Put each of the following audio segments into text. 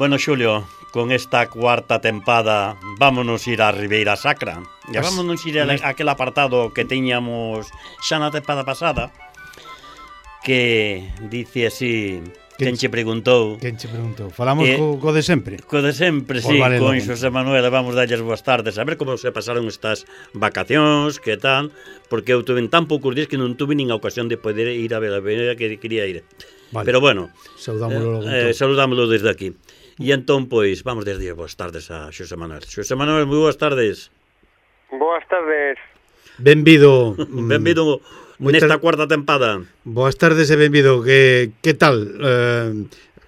Bueno, Xulio, con esta cuarta tempada vámonos ir a Ribeira Sacra. E vámonos ir a aquel apartado que tiñamos xa na tempada pasada, que dice así... Quen che preguntou? Falamos co de sempre? Co de sempre, sí, vale, con Xosé Manuel. Vamos darlles boas tardes. A ver como se pasaron estas vacacións, que tal, porque eu tuve tan poucos días que non tuve nin a ocasión de poder ir a ver a ver que quería ir. Vale. Pero bueno, saludámoslo desde aquí. E entón, pois, vamos desde boas tardes a Xosé Manuel. Xosé Manuel, moi boas tardes. Boas tardes. Benvido. Benvido nesta cuarta tempada. Boas tardes e benvido. Que tal?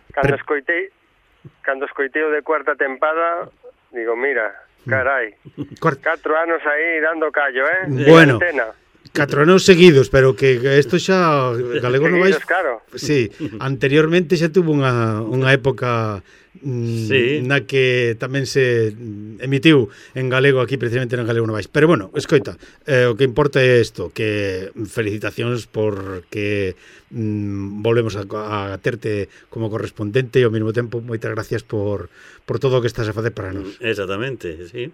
Cando escoitei o de cuarta tempada, digo, mira, carai, 4 anos aí dando callo, Bueno, 4 anos seguidos, pero que isto xa Galego non vais... Claro. Sí, anteriormente xa tuvo unha época na que tamén se emitiu en galego aquí, precisamente en Galego Novais. Pero bueno, escoita, o que importa é isto, que felicitacións porque volvemos a terte como correspondente e ao mesmo tempo moitas gracias por todo o que estás a facer para nós. Exactamente, sí.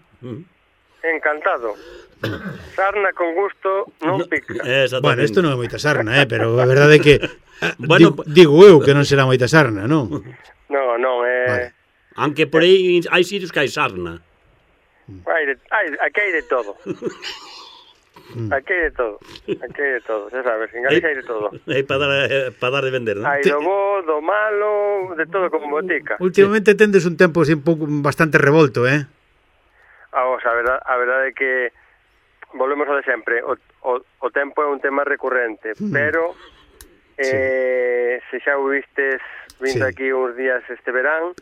Encantado. Sarna con gusto non pica. Bueno, isto non é moita sarna, pero a verdade é que digo eu que non será moita sarna, non? Non, vale. Aunque por aí hai sitios que hai sarna. Aquí hai de todo. Aquí hai de todo, xa sabes, en Galicia hai de todo. Hai para dar de vender, non? Hai do bo, do malo, de todo como botica. Últimamente tendes un tempo así un pouco bastante revolto, A verdade é que volvemos ao de sempre, o tempo é un tema recurrente, pero se xa o vistes vindo aquí uns días este verán,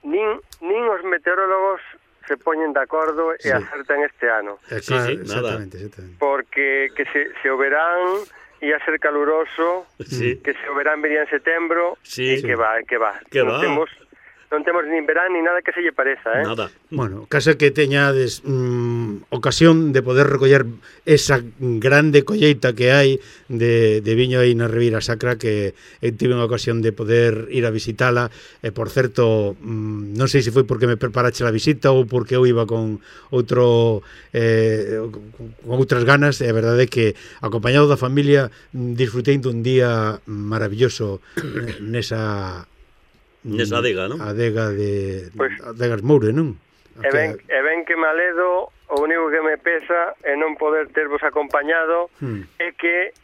nin os meteorólogos se poñen de acordo e acertan este ano. Exactamente. Porque que se o verán ia ser caluroso, que se o verán vería en setembro, e que va. Non temos nin verán ni nada que se lle pareza, Nada. Bueno, casa que teñades ocasión de poder recoller esa grande colleita que hai de viño aí na Ribeira Sacra, que tive unha ocasión de poder ir a visitala, e por certo, non sei se foi porque me preparache a visita ou porque eu iba con outras ganas, e a verdade é que acompañado da familia disfrutei dun día maravilloso nesa adega, non? Adega de Adegas Moure, non? E ben que me aledo, o único que me pesa é non poder tervos acompañado, é que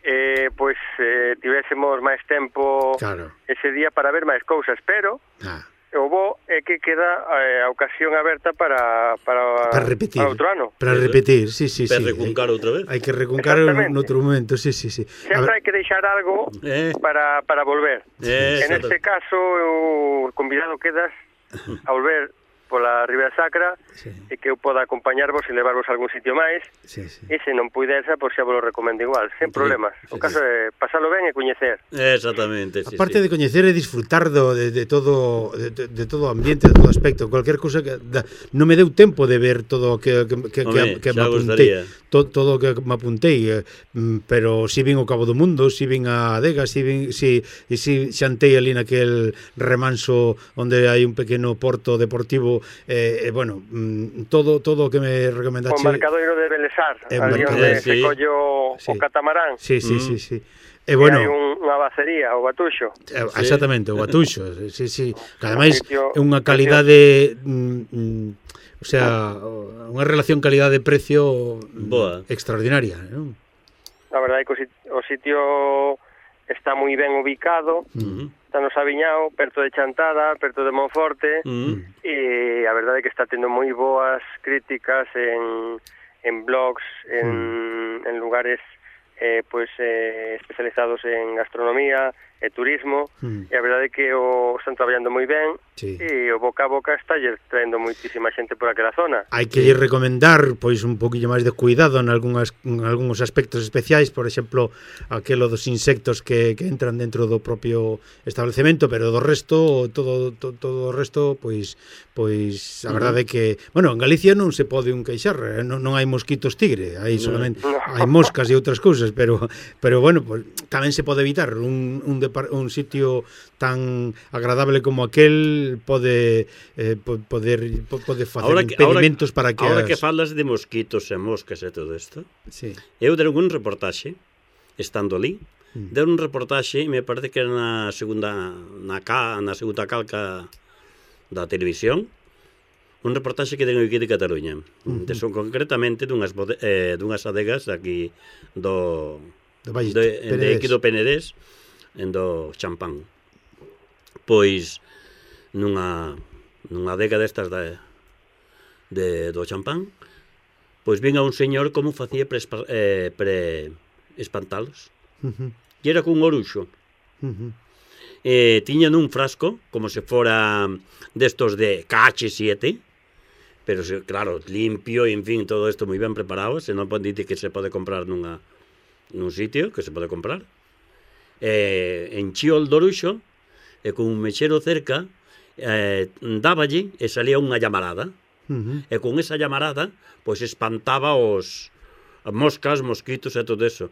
tivésemos máis tempo ese día para ver máis cousas, pero o bo é que queda a ocasión aberta para repetir, para outro ano. Para repetir, sí. Para recuncar outra vez. Hai que recuncar noutro momento, sí. Sempre hai que deixar algo para volver. En este caso, o convidado quedas a volver pola Ribeira Sacra e que eu poda acompañarvos e levarvos a algún sitio máis e se non puidesa, pois xa vos lo recomendo igual, sen problemas. O caso é pasalo ben e coñecer. Exactamente. Aparte de coñecer e disfrutar de todo o ambiente, de todo aspecto, cualquier cousa que non me deu tempo de ver todo o que me apuntei, todo o que me apuntei, pero si vin o Cabo do Mundo, si vin a Adega, si xantei ali naquel remanso onde hai un pequeno porto deportivo. Bueno, todo o que me recomendaste. O embarcadoiro de Belesar, ali onde se collo o catamarán. Sí. E bueno, hai unha bacería, o Batuxo. Exactamente, o Batuxo. Sí. Ademais é unha calidade, o sea, unha relación calidade-precio extraordinaria, non? A verdade é que o sitio está moi ben ubicado, está no Sabiñao, perto de Chantada, perto de Monforte, e a verdade é que está tendo moi boas críticas en blogs, en lugares especializados en gastronomía e turismo, e a verdade é que están traballando moi ben, e o boca a boca está traendo moitísima xente por aquela zona. Hai que recomendar pois un poquillo máis de cuidado en algúns aspectos especiais, por exemplo, aquelo dos insectos que entran dentro do propio establecemento, pero do resto, todo o resto, pois a verdade é que, bueno, en Galicia non se pode un queixar, non hai mosquitos tigre, hai solamente hai moscas e outras cousas, pero bueno, pues, tamén se pode evitar un sitio tan agradable como aquel pode facer impedimentos para que... Ahora que falas de mosquitos e moscas e todo isto, eu deron un reportaxe, estando ali, deron un reportaxe, me parece que era na segunda calca da televisión, un reportaxe que ten aquí de Cataluña, son concretamente dunhas adegas aquí de aquí do Penedés, do Champán. Pois nunha adega destas do Champán, pois vinha un señor como facía pre espantalos. E era cun oruxo. Tiña nun frasco, como se fora destos de KH7, pero claro, limpio, en fin, todo isto moi ben preparado, se non pode dicir que se pode comprar nun sitio, que se pode comprar. Enchío o doruxo, e con un mechero cerca, dáballe e salía unha llamarada. E con esa llamarada, pois espantaba os moscas, mosquitos e todo eso,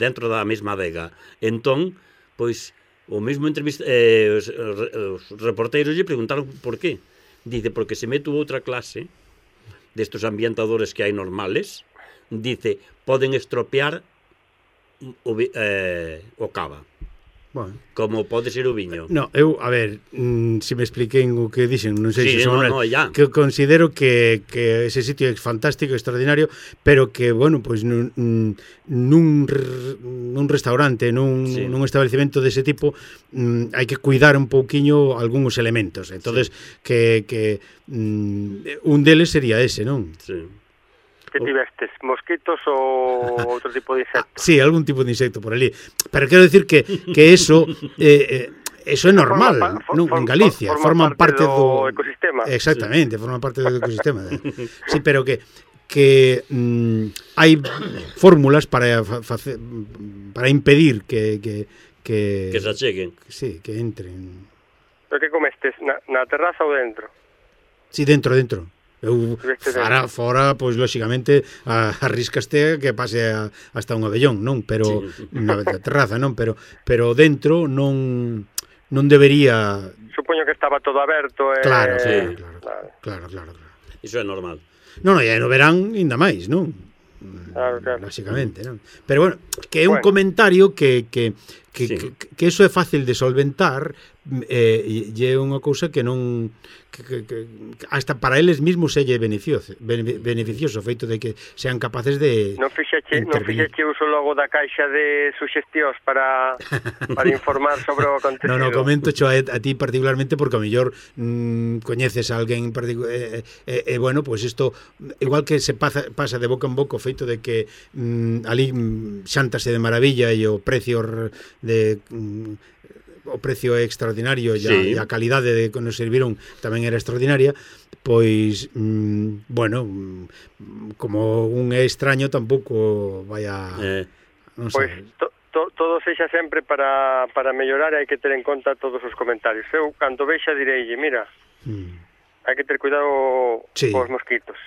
dentro da mesma adega. Entón, pois, o mesmo entrevista, os reporteiros lle preguntaron por qué. Dice, porque se meto outra clase destos ambientadores que hai normales, dice, poden estropear o cava. Bueno. Como pode ser o viño. No, eu, a ver, se me expliquei o que dixen, non sei se son que considero que ese sitio é fantástico, extraordinario, pero que, bueno, pois nun restaurante, nun establecemento dese tipo, hai que cuidar un pouquiño algúns elementos. Entonces, que un deles sería ese, non? Sí. Que tivestes? Mosquitos ou outro tipo de insecto? Sí, algún tipo de insecto por ali. Pero quero decir que eso é normal, en Galicia. Forman parte do ecosistema. Exactamente, forman parte do ecosistema. Sí, pero que hai fórmulas para impedir que se acheguen. Sí, que entren. Pero que comestes? Na terraza ou dentro? Sí, dentro. Eu fora, pois, lóxicamente, arriscaste que pase hasta un abellón, non? Pero na terraza, non? Pero dentro non debería... Supoño que estaba todo aberto. Claro. Iso é normal. Non, e no verán ainda máis, non? Claro. Lóxicamente, non? Pero, bueno, que é un comentario que eso é fácil de solventar, e é unha cousa que non... hasta para eles mismos é beneficioso o feito de que sean capaces de non fixeche uso logo da caixa de suxestións para informar sobre o acontecido. Non, comento xo a ti particularmente porque a mellor coñeces a alguén bueno, pois isto igual que se pasa de boca en boca o feito de que ali xántase de maravilla e o precio o precio é extraordinario e a calidade de que nos serviron tamén era extraordinaria, pois bueno, como un é extraño tampouco vai a non sei. Pois todo sexa sempre para mellorar, hai que ter en conta todos os comentarios. Eu cando vexa direille, mira, hai que ter cuidado cos mosquitos.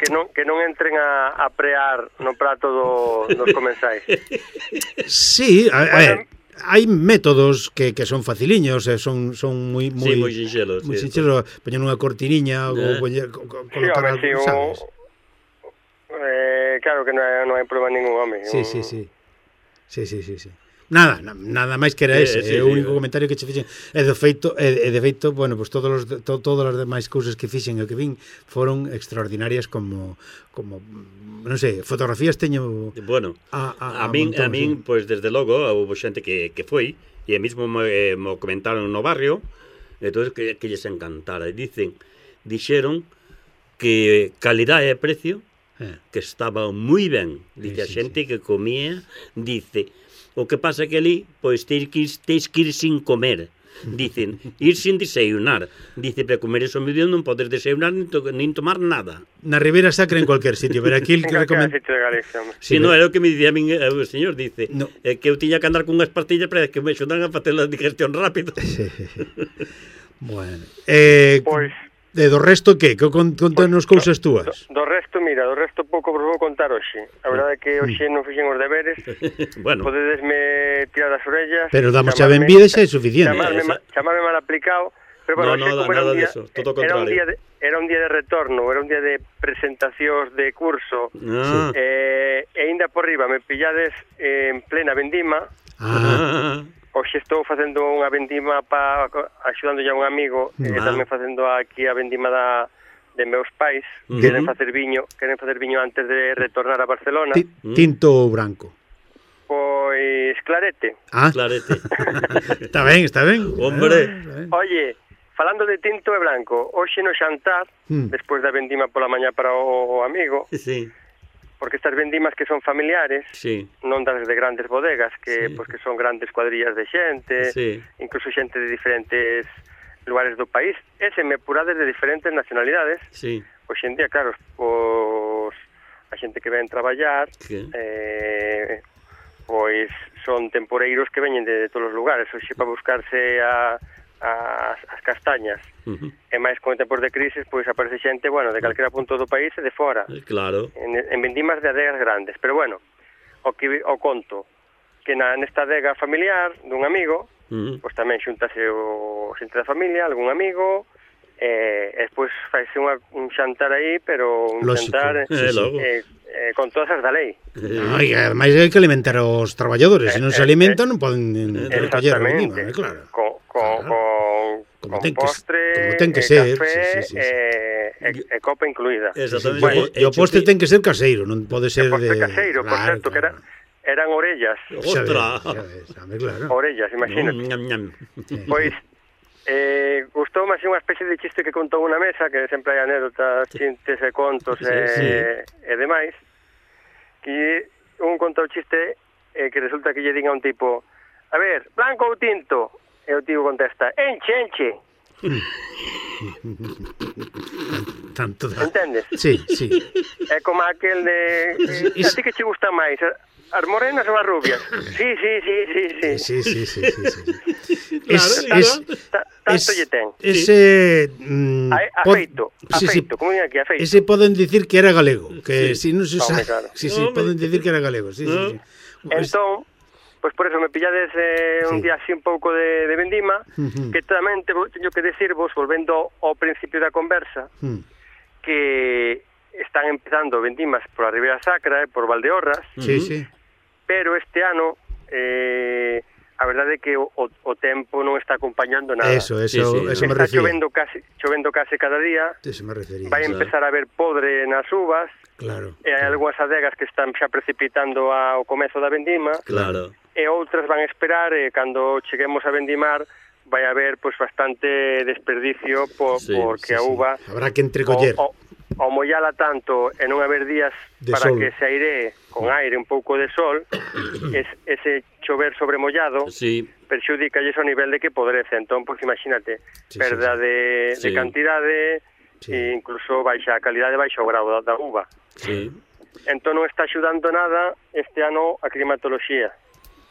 que non entren a prear no prato dos comensais. Sí, a ver, hai métodos que son faciliños, son moi sinxelos. Moi sinxelos, poñer unha cortiniña ou colocar algo, sabes? Claro que non hai problema ningún, home. Sí. Nada máis que era ese, o único comentario que che fixen e de feito, bueno, pues todas as demais cousas que fixen e que vin foron extraordinarias como non sei, fotografías teño. Bueno, a min pois desde logo houve xente que foi e mesmo me comentaron no barrio, entón que lles encantara, dixeron que calidade e precio que estaba moi ben, dice a xente que comía, dice, o que pasa que ali, pois teis que ir sin comer, dicen, ir sin desayunar, dice, para comer eso medio non podes desayunar nin tomar nada. Na Ribeira Sacra en cualquier sitio, pero aquí el que recomenda... Si non, era o que me dicía a min o señor, dice, que eu tiña que andar con unhas pastillas para que me axudan a facer a digestión rápido. Bueno, pois do resto, que? Contanos cousas túas. Do resto, mira, do resto pouco vos vou contar hoxe. A verdade é que hoxe non fixen os deberes. Bueno. Podedesme tirar as orellas. Pero damos a benvida xa é suficiente. Chamarme mal aplicado. Pero bueno, no, nada disso, todo o contrario. Era un día de retorno, era un día de presentacións de curso. E ainda por riba me pillades en plena vendima. Hoxe estou facendo unha vendima axudando a un amigo que tamén facendo aquí a vendima de meus pais. Queren facer viño antes de retornar a Barcelona. Tinto ou branco? Pois clarete. Clarete. Está ben. Hombre. Oye, falando de tinto e branco, hoxe no xantar, despois da vendima pola mañá para o amigo, sí. Porque estas vendimas que son familiares, sí. Non das de grandes bodegas, que sí. Pues que son grandes cuadrillas de xente, sí. Incluso xente de diferentes lugares do país, e semepurades de diferentes nacionalidades. Sí. Hoxe en día, claro, pues, a xente que ven traballar, pois son temporeiros que veñen de todos os lugares, hoxe para buscarse as castañas. E máis con tempos de crisis, pois aparece xente, bueno, de calquera punto do país e de fora. Claro. En vendimas de adegas grandes, pero bueno, o conto que nesta adega familiar dun amigo, pois tamén xuntase o xente da familia, algún amigo, e despois faise un xantar aí, pero un xantar con todas as da lei. Ademais hai que alimentar os traballadores, se non se alimentan non poden recoller a vendima, claro. Con postre, ten que ser, café e copa incluída. Exactamente. E o postre ten que ser caseiro, non pode ser de... postre caseiro, por certo, que eran orellas. Ostras! Orellas, imagínate. Pois, gustoume así unha especie de chiste que contou unha mesa, que sempre hai anécdotas, chistes e contos e demais, que un contou chiste que resulta que lle din a un tipo, a ver, blanco ou tinto? E o tipo contesta, enche. Tanto da... Entendes? Sí. É como aquel de... A ti que che gusta máis, as morenas ou as rubias? Sí. Tanto lle ten. Ese... Afeito, como diga aquí, afeito. Ese poden dicir que era galego, que si non se usa... Sí, poden dicir que era galego, sí. Entón, pois por eso me pillades un día así un pouco de vendima, que tamén teño que decirvos, volvendo ao principio da conversa, que están empezando vendimas por a Ribeira Sacra e por Valdeorras, pero este ano a verdade é que o tempo non está acompañando nada. Eso me refiero. Está chovendo case cada día. Eso me refería. Vai empezar a haber podre nas uvas. Claro. E hai algunhas adegas que están xa precipitando ao comezo da vendima. Claro. E outras van a esperar e cando cheguemos a vendimar vai haber pois bastante desperdicio porque a uva habrá que entrecoller. O mollala tanto e non haber días para que se airee con aire un pouco de sol, ese chover sobremollado perxudicalles ao nivel de que podrece. Entón, pois imagínate, perda de cantidade e incluso baixa a calidade, baixa o grado da uva. Entón non está axudando nada este ano a climatoloxía.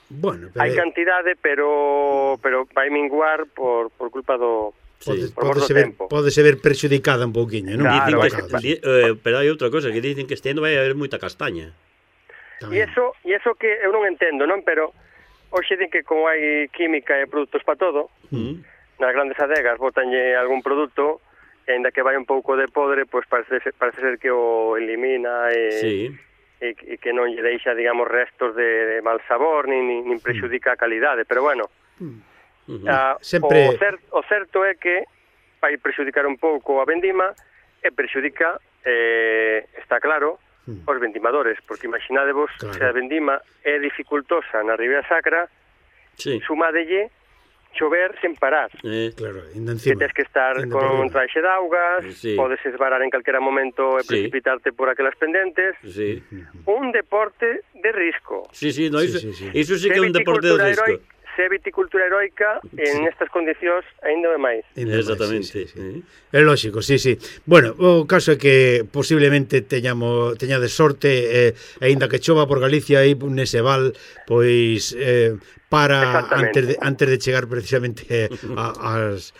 Bueno, hai cantidade, pero vai minguar por culpa do Pode ser prexudicada un pouquiño, non? Claro, pero hai outra cosa, que dicen que este ano vai haber moita castaña. E iso que eu non entendo, non? Pero hoxe din que como hai química e produtos para todo, nas grandes adegas botanlle algún produto, e ainda que vai un pouco de podre, pois parece ser que o elimina e que non lle deixa, digamos, restos de mal sabor, nin prexudica a calidade, pero bueno... O certo é que vai prexudicar un pouco a vendima e prexudica, está claro, os vendimadores, porque imaginadevos se a vendima é dificultosa na Ribeira Sacra, sumadelle chover sen parar. Claro, que tens que estar con un traxe de augas, podes esvarar en calquera momento e precipitarte por aquelas pendentes. Un deporte de risco. Iso sí que é un deporte de risco. Se viticultura heroica en estas condicións aínda é máis. Exactamente. É lógico, sí. Bueno, o caso é que posiblemente teñades sorte, aínda que chova por Galicia aí nese val, pois para antes de chegar precisamente ás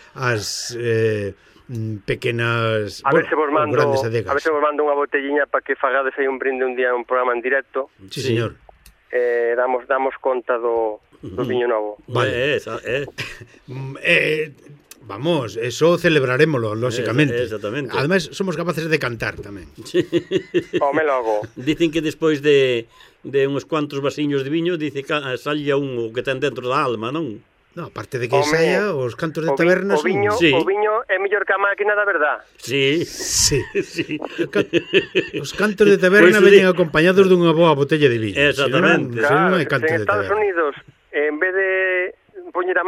pequenas, a ver se vos mando, grandes adegas. A ver se vos mando unha botelliña para que fagades aí un brinde un día un programa en directo. Sí, señor. Damos conta do viño novo. Vale. Vamos, eso celebraremoslo, lóxicamente. Exactamente. Ademais, somos capaces de cantar tamén. Home logo. Dicen que despois de uns cuantos vasiños de viño, dice que salía un que ten dentro da alma, non? No, aparte de que saia, os cantos de taberna son... O viño é mellor que a máquina da verdad. Sí. Os cantos de taberna veñen acompañados dunha boa botella de viño. Exactamente. Non hai cantos de taberna. En Estados Unidos, en vez de poñer a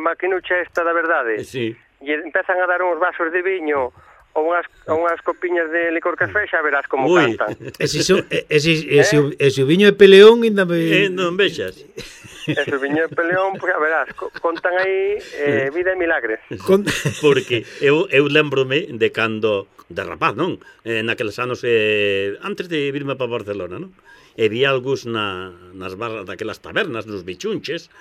maquinucha esta da verdade, e empezan a dar uns vasos de viño ou unhas copiñas de licor café, xa verás como cantan. E se o viño é peleón, ainda me... Non vexas. E se o viño é peleón, pois a verás, contan aí vida e milagres. Porque eu lembrome de cando, de rapaz, non? Naqueles anos, antes de virme para Barcelona, non? E vi algús nas barras daquelas tabernas, nos bichunches,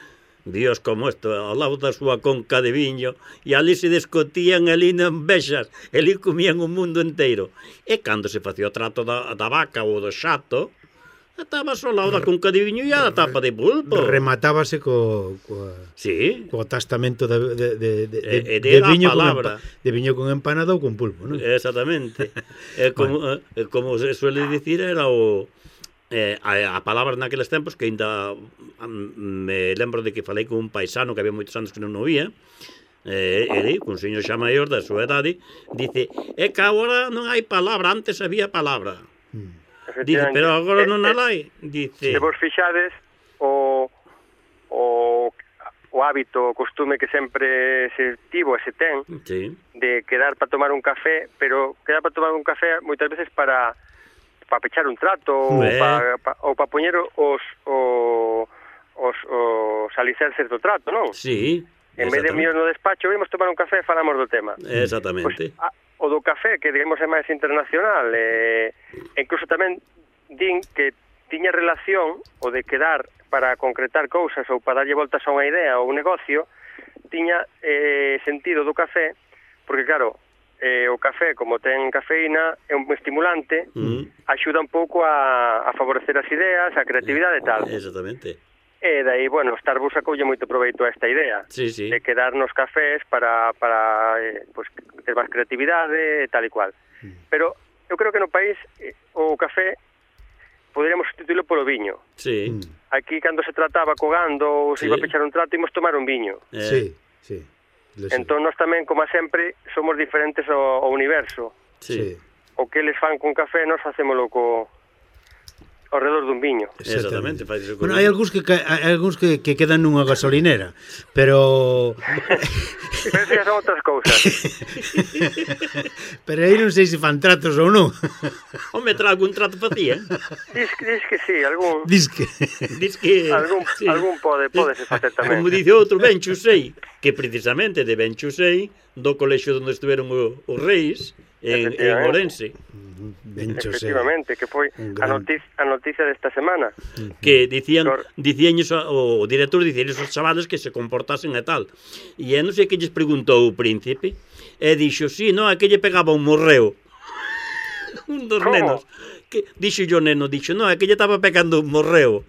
Dios como isto, ao lado da súa conca de viño, e ali se descotían, ali non vexas, ali comían o mundo inteiro. E cando se facía o trato da vaca ou do xato, estaba só ao lado da conca de viño e a tapa de pulpo. Rematábase co tastamento de viño de viño con empanada ou con pulpo, non? Exactamente. Como se suele dicir, era a palabra naqueles tempos que ainda me lembro de que falei con un paisano que había moitos anos que non o vía, un señor xa maior da súa idade, dice, é que agora non hai palabra, antes había palabra. Dice, pero agora non a hai. Dice, se vos fixades o hábito, o costume que sempre se tivo e se ten de quedar para tomar un café, pero quedar para tomar un café moitas veces para pechar un trato ou para poñer os alicerces do trato, non? Sí. En vez de míos no despacho, vimos tomar un café e falamos do tema. Exactamente. O do café, que digamos é máis internacional, incluso tamén din que tiña relación o de quedar para concretar cousas ou para darlle voltas a unha idea ou un negocio, tiña sentido do café, porque claro, o café, como ten cafeína, é un estimulante, axuda un pouco a favorecer as ideas, a creatividade e tal. Exactamente. E dai, bueno, Starbucks acolle moito proveito a esta idea de quedar nos cafés para pues, ter máis creatividade e tal e cual. Pero eu creo que no país o café poderíamos sustituirlo polo viño. Sí. Aquí, cando se trataba cogando ou se iba a pechar un trato, imos tomar un viño. Sí. Entón, nós tamén, como sempre, somos diferentes ao universo. Sí. O que eles fan con café, nós facémolo ao redor dun viño. Exactamente. Bueno, hai algúns que quedan nunha gasolinera, pero... Pero eso son outras cousas. Pero aí non sei se fan tratos ou non. Home, algún trato facía. Diz que sí, algún... Diz que... Algún pode se facer tamén. Como dice outro, Ben Chusei, que precisamente de Ben Chusei, do colexio onde estiveron os reis, en Ourense. Efectivamente, que foi a noticia desta semana. Que dicían o director dicía esos chavales que se comportasen e tal. E non sei que lles preguntou o príncipe, e dixo, sí, non, é que lle pegaba un morreo. Un dos nenos. Dixo yo neno, dixo, non, é que lle estaba pegando un morreo.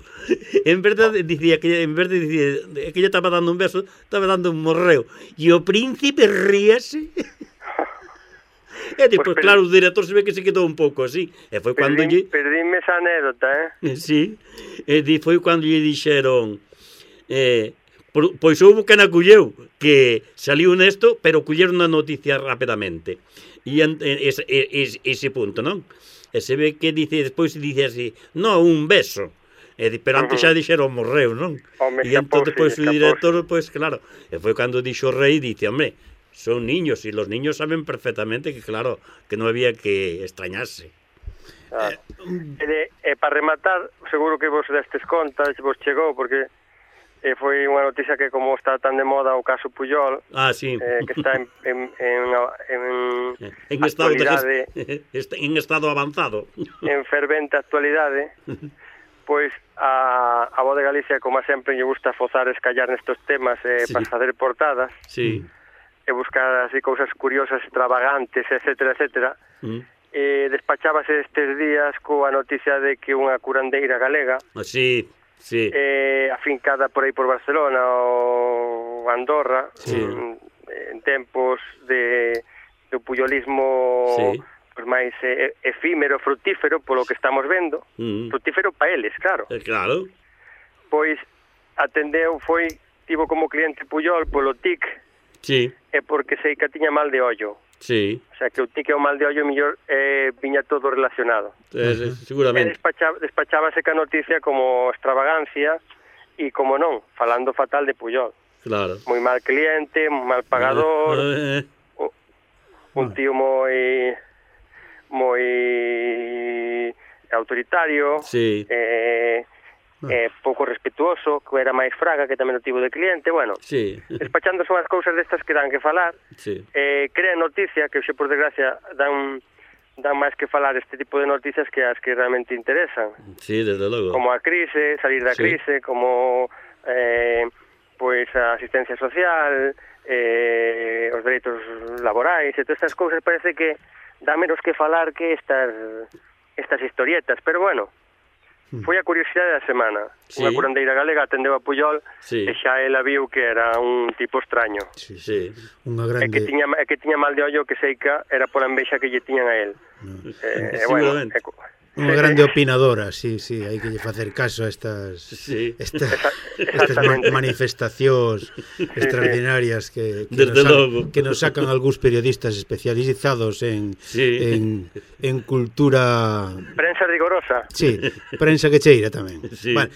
En verdade dicía que é que lle estaba dando un beso, estaba dando un morreo. E o príncipe ríase. E depois, claro, o director se ve que se quedou un pouco así. E foi cando Perdíme esa anécdota, Sí. E foi cando lle dixeron pois houve que na colleu, que saliu nesto, pero colleron a noticia rapidamente. E ese punto, non? E se ve que despois dice así, non, un beso. Pero antes xa dixeron morreu, non? E entón depois o director, pois claro, e foi cando dixo o rei, dice, hombre, son niños, y los niños saben perfectamente que, claro, que non había que extrañarse. Para rematar, seguro que vos destes conta, vos chegou, porque foi unha noticia que, como está tan de moda o caso Puyol, que está en estado avanzado, en fervente actualidade, pois a Voz de Galicia, como sempre, lle gusta fozar escallar nestos temas para facer portadas. Sí. buscar así cousas curiosas, extravagantes, etcétera, etcétera. Despachábase estes días coa noticia de que unha curandeira galega afincada por aí por Barcelona ou Andorra, en tempos do puyolismo pues máis efímero, frutífero, polo que estamos vendo, frutífero pa eles, claro. Claro. Pois atendeu, tivo como cliente Puyol polo tic, e porque sei que tiña mal de ollo. Sí. O sea, que o tic e o mal de ollo mellor viña todo relacionado. Seguramente. Despachábase ca noticia como extravagancia e, como non, falando fatal de Puyol. Claro. Moi mal cliente, mal pagador, un tío moi autoritario, pouco respetuoso, que era máis fraga, que tamén o tivo de cliente, bueno, despachando son as cousas destas que dan que falar, crean noticia, que xe por desgracia dan máis que falar este tipo de noticias que as que realmente interesan. Sí, desde logo. Como a crise, salir da crise, como pois a asistencia social, os dereitos laborais, e todas estas cousas parece que dá menos que falar que estas historietas, pero bueno, foi a curiosidade da semana. Unha curandeira galega atendeu a Puyol e xa ela viu que era un tipo extraño. Unha grande... E que tiña mal de ollo, que seica era pola envexa que lle tiñan a él. Seguramente. Unha grande opinadora, sí, hai que lle facer caso a estas manifestacións extraordinarias que nos sacan algúns periodistas especializados en cultura... Prensa rigorosa. Sí, prensa que cheira tamén. Bueno,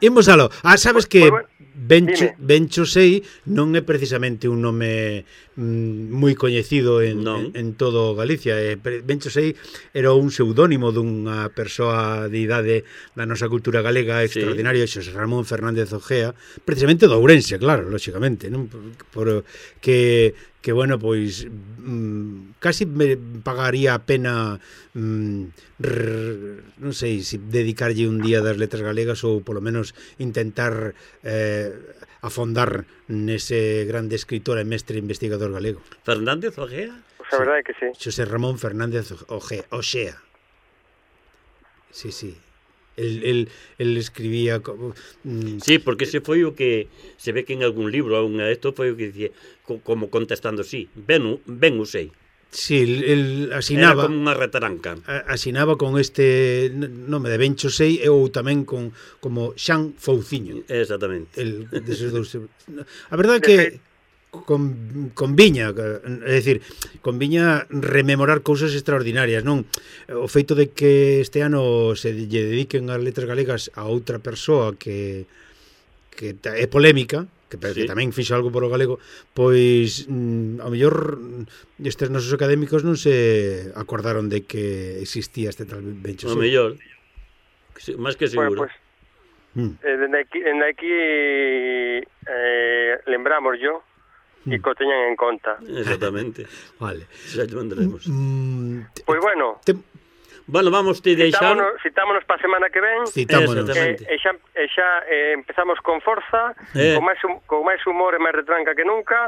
imos aló. Sabes que Bencho Sei non é precisamente un nome moi coñecido en todo Galicia. Bencho Sei era un pseudónimo dunha persoa de idade da nosa cultura galega extraordinario, Xosé Ramón Fernández Ojea, precisamente do Ourense, claro, lóxicamente, non? Que bueno, pois casi me pagaría a pena non sei se dedicarlle un día das letras galegas ou polo menos intentar afondar nese grande escritor e mestre investigador galego. Fernández Ojea? A verdade é que sí. Xosé Ramón Fernández Ojea. Sí. El escribía Sí, porque ese foi o que se ve que en algún libro isto foi o que dicía como contestando ben o sei. Sí, el asinaba... Era como unha retaranca. Asinaba con este nome de Bencho Sei ou tamén como Xan Fouciño. Exactamente. A verdade é que conviña, é dicir, conviña rememorar cousas extraordinarias, non? O feito de que este ano se lle dediquen as letras galegas a outra persoa que é polémica, que tamén fixo algo por o galego, pois ao mellor estes nosos académicos non se acordaron de que existía este tal Bencho Sei. Ao mellor, máis que seguro. Bueno, pues, dende aquí lembramos yo e que o teñan en conta. Exactamente. Vale. Xa te mandaremos. Pois bueno, bueno, vamos te deixar. Citámonos para a semana que ven. Citámonos. E xa empezamos con forza, con máis humor e máis retranca que nunca,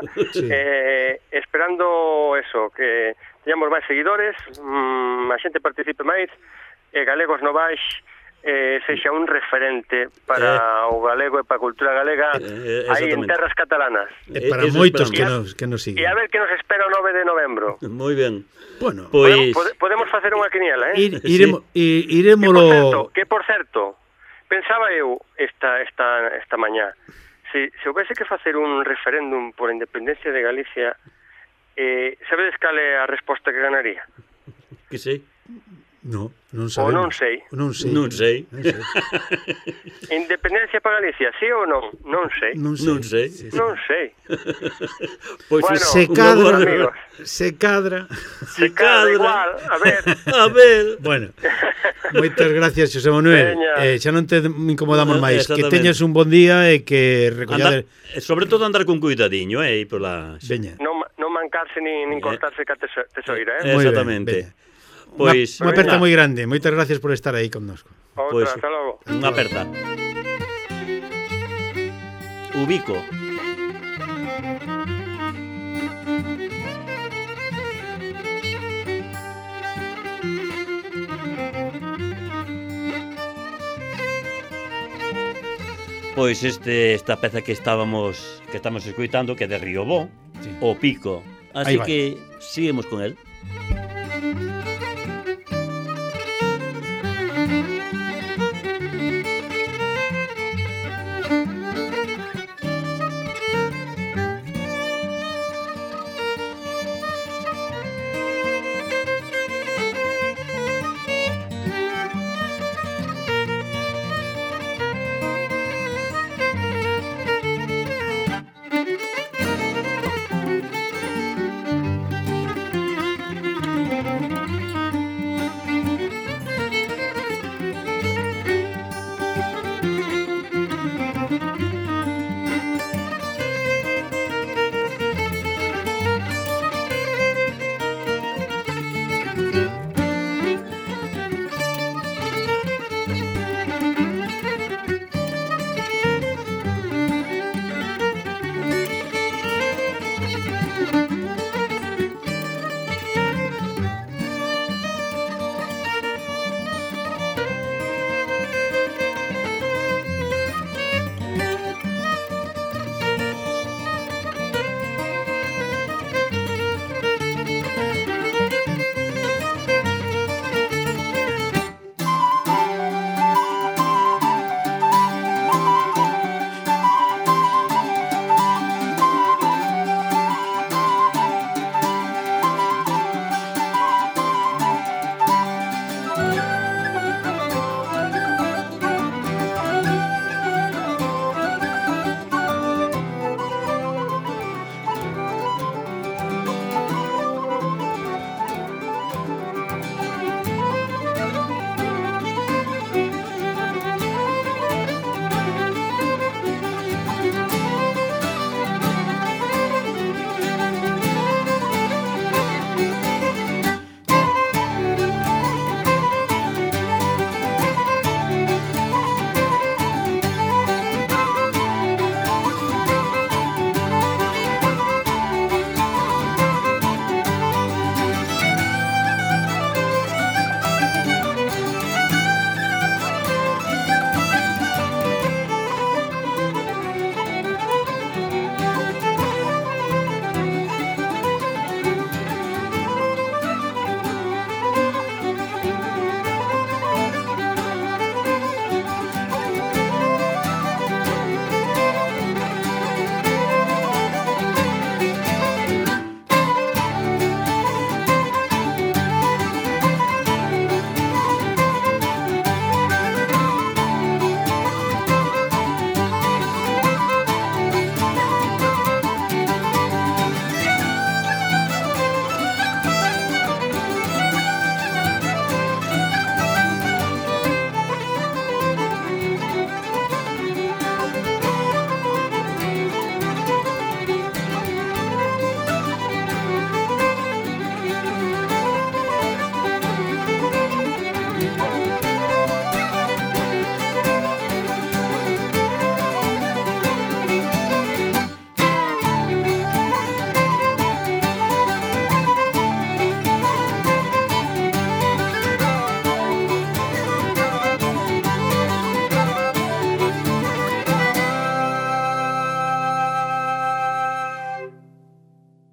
esperando eso, que teñamos máis seguidores, a xente participe máis, e Galegos Novais sexa un referente para o galego e para a cultura galega aí en terras catalanas. E para moitos que nos siguen. E a ver que nos espera o 9 de novembro. Moi ben. Bueno, pois podemos facer unha quiniela, Iremolo... Que por certo, pensaba eu esta mañá, se houvese que facer un referéndum por a independencia de Galicia, sabedes cal é a resposta que ganaría? Que sei? Non sabemos. Ou non sei. Independencia para Galicia, sí ou non? Non sei. Pois bueno, se cadra igual, a ver. Bueno, moitas gracias, Xosé Manuel. Xa non te incomodamos máis. Que teñas un bon día e que recollades... Sobre todo andar con cuidadiño, pola... Veña. Non mancarse nin cortarse ca tesoira, Exactamente. Pois unha aperta moi grande. Moitas gracias por estar aí connosco. Outra, hasta logo. Unha aperta. Ubico. Pois esta peza que estamos escoitando, que é de Riobó, sí. O Pico. Así que seguimos con el.